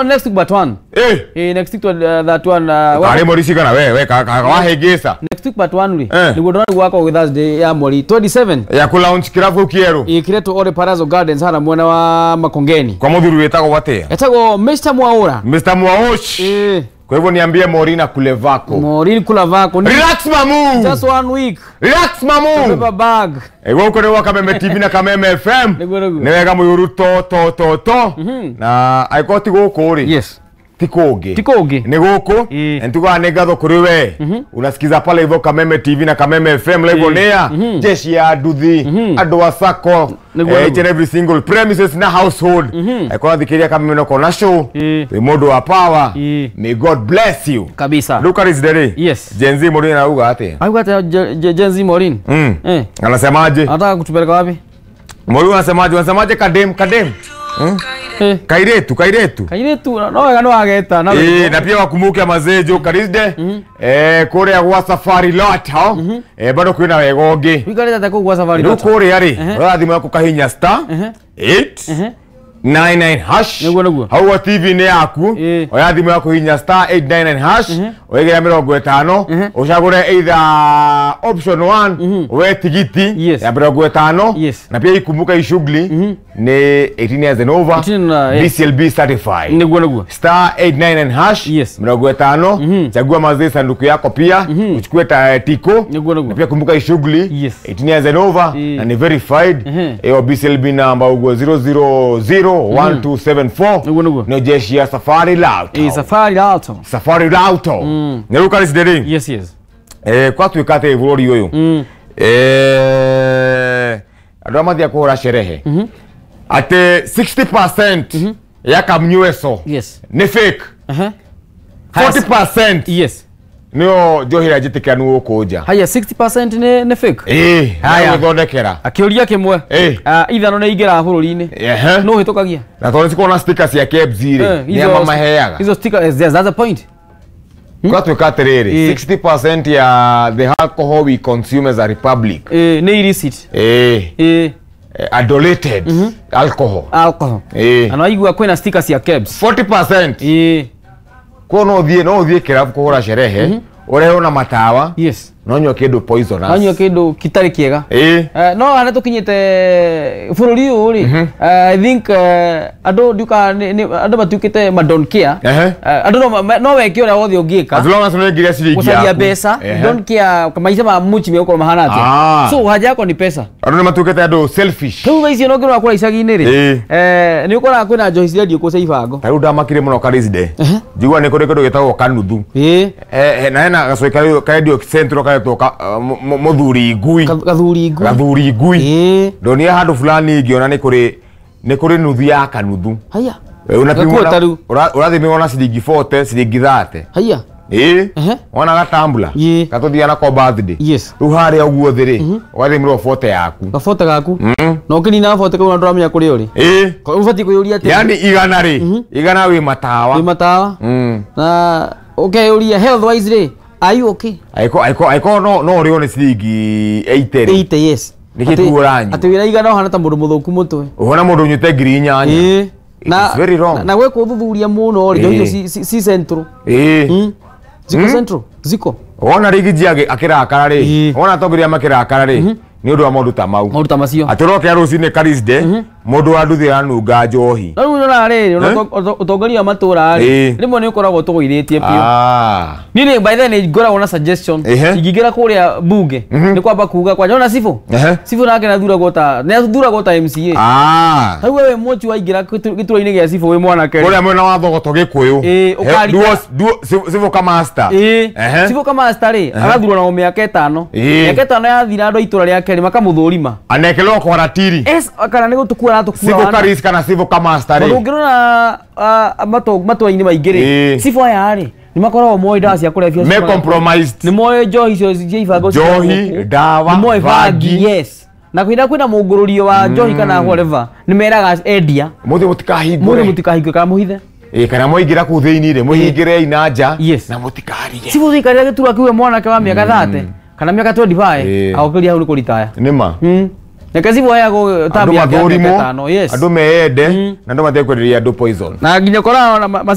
Next week but one. Eh. Eh, next week that one. Kare mori cigana we we wahĩngĩca. Next week but one ri. Niguo ndona gwakwa gwĩ Thursday ya mweri 27. Ya ku launch kirabu kĩerũ. Ĩkĩretwo Ore Palazzo Gardens hara mwena wa Makongeni. Kwa mũthuri wĩtagwo atĩa? Etagwo Mr. Mwaura. Mr. Mwaosh. Eh. Kwa hivyo niambie Morina kule vako. Maureen kula vako. Relax mamu. Just one week. Relax mamu. Beba bag. Gũkũ nĩ gwa Kameme TV na Kameme FM. Nĩguo nĩguo. Nĩ wega mũyũru to to to to. Na angĩkorwo ti gũkũ rĩ. Yes. Ti kũngĩ. Ti kũngĩ. Nĩ gũkũ. Ĩĩ. Na nĩtugaga nĩ ngatho kũrĩ we. Unasikiza pale hivyo Kameme TV na Kameme FM live on air. Jeshi ya nduthi, andũ a sacco, Nĩguo each nĩguo. and every single premises na household. Angĩkorwo thikĩrĩria Kameme no kona show. Ĩĩ. Wĩ mũndũ wa power. Ĩĩ. May God bless you. Kabisa. Luka Rizderĩ. Yes. Gen Z Maureen anauga atĩa? Auga atĩa Gen Z Maureen? Mm. Eh. Anasemaje? Anataka kutupeleka wapi? Maureen anasemaje? Anasemaje kadem kadem? Eh. Kairetu kairetu. Kairetu no wega no ageta na Eh, na pia wakumbuke mazee jo Karisde. Eh, kuria gwa Safari Lot hao. Eh, bado kwina wega ũngĩ. Wikarĩte atĩa kũu gwa Safari Rĩu Lot? kũrĩa rĩ, ũra thimũ yaku kahinya star 8 99 hash. Nĩguo nĩguo. Hau gwa TV nĩ yaku. Ĩĩ. Oya thimũ yaku hinya star 899 hash. Wĩgĩre 50 ũcagũre either option 1 we tigiti Yes. ya 50 Yes. na pia ikumbuka hii shughuli ni 18 years and over 18 na, eh. BCLB certified. Nĩguo nĩguo. Star 899 hash. Yes. 50 chagua mazee sanduku yako pia uchukue ta tiko. Nĩguo nĩguo. Na pia kumbuka hii shughuli Yes. 18 years and over Ĩĩ. na ni verified hiyo BCLB number ugo 0001274 Nĩguo nĩguo. nĩ jeshi ya Safari Lauto. Eh, Safari Lot. Safari Lauto nĩ rĩu Karisderi. Yes yes. Eh, kwatuĩka atĩ bũrũri ũyũ eh, andũ arĩa mathiaga kũhũra sherehe atĩ 60% ya kamnyueco Yes. nĩ fake. Uh-huh. 40% Yes. nĩyo njohi ĩrĩa njĩtĩkanu gũkũ nja. Haya 60% nĩ fake. Ĩĩ, Haya. gwĩthondekera. Akĩũria kĩmwe. Ĩĩ. Ah, ithano nĩ ingĩraga bũrũri-inĩ. Ehe. No ũhĩtũkagia. Na tondũ cikoragwo na sticker cia KEBS rĩ, Eh, nĩ a mamaheaga. Hizo sticker, yes, that's the point. Kwatuĩka atĩrĩrĩ, Ĩĩ. 60% ya the alcohol we consume as a republic Eh, nĩ illicit. ĩĩ, Eh, adulated alcohol. Alcohol. Ĩĩ. Na naigua kwĩna sticker cia KEBS. 40% Eh, kuo no ũthiĩ kĩrabu kũhũra sherehe ũrehwo na matawa yes. no nyua kĩndũ poisonous. Anyua kĩndũ kitarĩ kĩega. Ĩĩ. Eh, no harĩa tũkinyĩte bũrũri ũyũ rĩ, I think andũ ndiuka andũ matuĩkĩte ma don't care. Ehe. Andũ no weke ũrĩa wothe ũngĩka As long as ũnengire ciringi gũcaria yaku. mbeca. Ehe. Don't care maica ma mũchi megũkorwo mahana atĩa. Ah. So haja yako ni pesa. Andũ nĩ matuĩkĩte andũ selfish. Rĩu thaa icio no ngĩrora kũrĩa icagi-inĩ rĩ, Ĩĩ. eh, nĩ ũkoraga kwĩna njohi cirendio kũu cia ibango. Ta rĩu ndamakire mũno Karisde, njigua nĩ kũrĩ kĩndũ gĩtagwo kanuthu. Ĩĩ. Eh, eh, na hena gacũĩ karendio central karetwo mũthuri ngui. Gathuri ngui. Gathuri ngui. Ĩĩ. Ndonire handũ fulani ngĩona nĩ kũrĩ nuthu ya kanuthu. Haya. Eh, unapimwo Gakua ta rĩu. ũrathimĩrwo na ciringi 40 ciringi 30. Haya. Ĩĩ. Ehe. Wona gatambula Ĩĩ. gatũthiaga nako birthday. Yes. Rĩu harĩa ũguo thĩ rĩ ũgathimĩrwo 40 yaku. Gabote gaku na ũkĩnina gabote kau na ndũramenya kũrĩa ũrĩ. Ĩĩ. Ũbatiĩ kwĩyũria atĩrĩ, Yani igana rĩ, igana wĩ matawa. wĩ matawa na ũkeyũria health wise rĩ, are you okay? Aiko no ũrĩo nĩ ciringi 80 rĩ. 80, yes. Nĩkĩ Atĩ- kĩu ũranyua? atĩ wĩra igana ũhana ta mũndũ mũthũku mũtwe. Ũhona mũndũ ũnyuĩte 8,000. Ĩĩ. It is very wrong. Na gwĩkwo ũthuthuria mũno rĩ, njohi Ĩĩ. icio ci central. Ĩĩ. Ziko central ziko. Wona rigi ji akĩrakara rĩ, Ĩĩ. wona atongoria makĩrakara rĩ, nĩ ũndũ wa maũndũ ta mau. Maũndũ ta macio. Atĩ ũrokĩra rũcinĩ Karisde, mũndũ wa nduthi aranunga njohi. No rĩu nyonaga rĩrĩ, ona ũtongoria wa matũra rĩ, Ĩĩ. rĩmwe nĩ ũkoragwo ũtũgũithĩtie biũ. Ah. Niĩ nĩ by the way nĩ ngoragwo na suggestion. Ehe. Ingĩingĩra kũrĩa bunge nĩ kwamba kuga kwanja ona cibũ. Ehe. Cibũ nake nĩathuragwo ta MCA. Ah. Rĩu we wĩ mũchu waingĩra gĩturwa-inĩ gĩa cibũ wĩ mwanake rĩ. Kũrĩa mwena wa Thogoto Gĩkũyũ. Ĩĩ, Civil ka master. Ĩĩ. Ehe. Cibũ ka master rĩ, agathurwo na mĩaka 5. Ĩĩ. Mĩaka 5 yathira andũ a itũra rĩake rĩ makamũthũrima. Anekelwo kwa ratiri. Es kana nĩ gũtũkua aratũkua Civil wana. Karis kana civil ka master Tondũ rĩ. ũngĩrora matũra-inĩ maingĩ rĩ, Ĩĩ. cibũ aya rĩ nĩ makoragwo moĩ ndawa cia kũrebia Me cikoragwo- compromised. nĩ moĩ njohi icio cia ibango Njohi, cikoragwo kũ. ndawa, nĩ moĩ bangi. bangi, yes, na kwĩna mũngũrũrio wa njohi kana whatever nĩ meraga endia Mũthĩ mũthĩ mũtikahingũre. mũtikahingũre kana mũhithe. Ĩĩ, kana mwaingĩra kũu thĩinĩ rĩ mũhingĩrei na nja Yes. na mũtikarie. Cibũ ũikarĩra gĩturwa kĩu we mwanake wa mĩaka 30 kana mĩaka 25 Ĩĩ. agũkĩria hau nĩ kũritaya. Nĩ ma. Reke cibũ aheagwo Andũ term yake ya mĩaka mathũrimwo, 5, yes. andũ meyende na andũ matekwenderia andũ poison. Na nginya ũkoraga ona